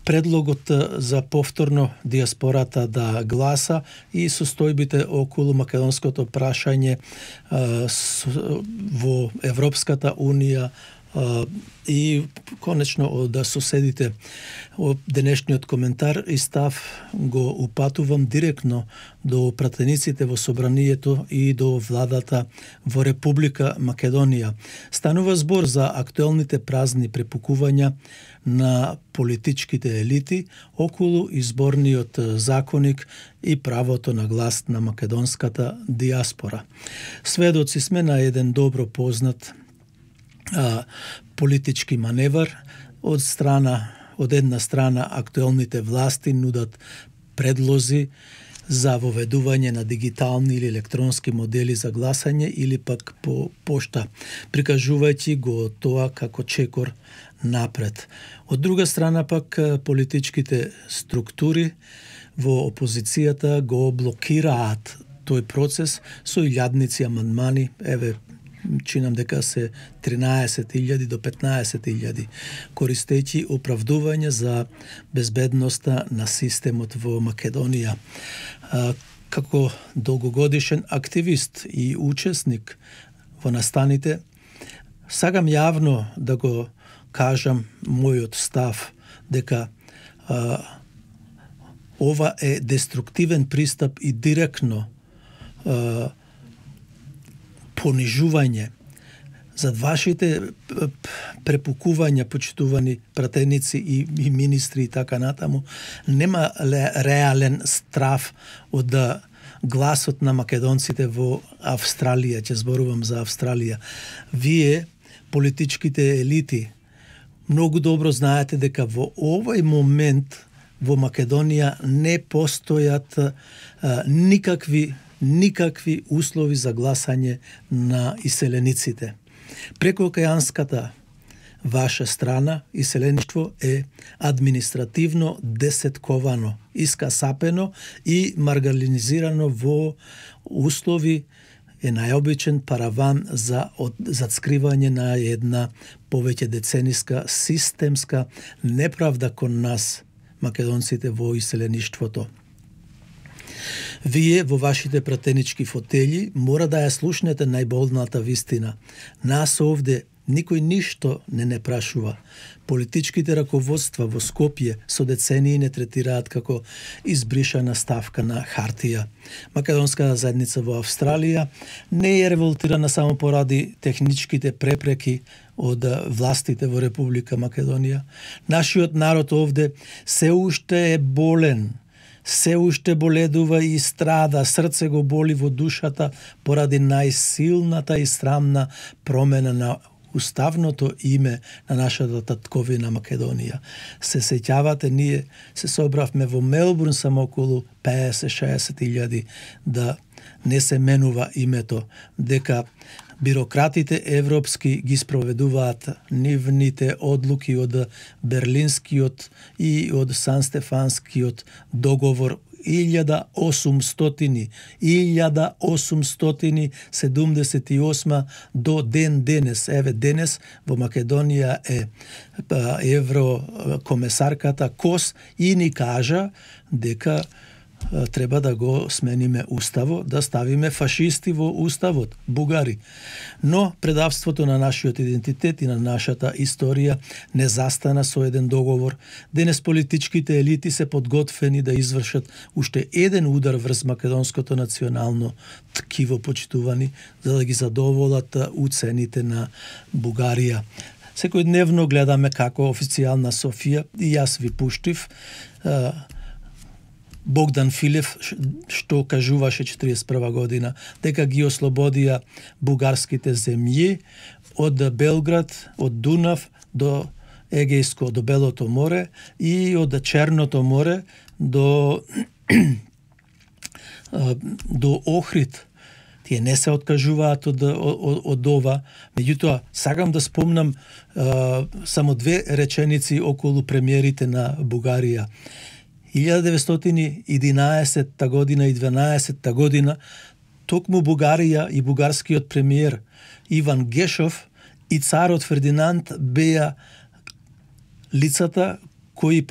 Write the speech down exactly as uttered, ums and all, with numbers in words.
предлогот за повторно диаспората да гласа и состојбите околу македонското прашање во Европската унија и конечно од соседите. Денешниот коментар и став го упатувам директно до пратениците во собранието и до владата во Република Македонија. Станува збор за актуелните празни препукувања на политичките елити околу изборниот законник и правото на глас на македонската диаспора. Сведоци сме на еден добро познат а, политички маневар од страна од една страна актуелните власти нудат предлози за воведување на дигитални или електронски модели за гласање или пак по пошта, прикажувајќи го тоа како чекор напред. Од друга страна пак политичките структури во опозицијата го блокираат тој процес со илјадници амандмани, еве чинам дека се тринаесет илјади до петнаесет илјади, користејќи оправдување за безбедноста на системот во Македонија. Како долгогодишен активист и учесник во настаните, сакам јавно да го кажам мојот став дека а, ова е деструктивен пристап и директно а, понижување зад вашите препукувања, почитувани пратеници и, и министри и така натаму, нема реален страв од гласот на македонците во Австралија, ќе зборувам за Австралија. Вие, политичките елити, многу добро знаете дека во овој момент во Македонија не постојат а, никакви никакви услови за гласање на иселениците. Прекоокеанската ваша страна, иселеништво е административно десетковано, искасапено и маргалинизирано во услови е најобичен параван за зацкривање на една повеќе децениска системска неправда кон нас, македонците во иселеништвото. Вие во вашите пратенички фотели мора да ја слушнете најболната вистина. Нас овде никој ништо не не прашува. Политичките раководства во Скопје со децении не третираат како избришана ставка на хартија. Македонската заедница во Австралија не е револтирана само поради техничките препреки од властите во Република Македонија. Нашиот народ овде се уште е болен, се уште боледува и страда, срце го боли во душата поради најсилната и срамна промена на уставното име на нашата татковина Македонија. Се сеќавате, ние се собравме во Мелбурн само околу петдесет-шеесет илјади да не се менува името, дека бирократите европски ги спроведуваат нивните одлуки од Берлинскиот и од Сан-Стефанскиот договор илјада осумстотини седумдесет и осма до ден денес. Еве денес во Македонија е еврокомесарката Кос и ни кажа дека треба да го смениме уставот, да ставиме фашисти во уставот, бугари. Но предавството на нашиот идентитет и на нашата историја не застана со еден договор. Денес политичките елити се подготвени да извршат уште еден удар врз македонското национално ткиво, почитувани, за да ги задоволат уцените на Бугарија. Секојдневно гледаме како официјална Софија, и јас ви пуштив, Богдан Филев, што кажуваше четириесет и прва година, дека ги ослободија бугарските земји од Белград, од Дунав до Егејско, до Белото море и од Черното море до до Охрид. Тие не се откажуваат од, од, од ова. Меѓутоа, сакам да спомнам а, само две реченици околу премиерите на Бугарија. илјада деветстотини и единаесетта година и дванаесетта година токму Бугарија и бугарскиот премиер Иван Гешов и царот Фердинанд беа лицата кои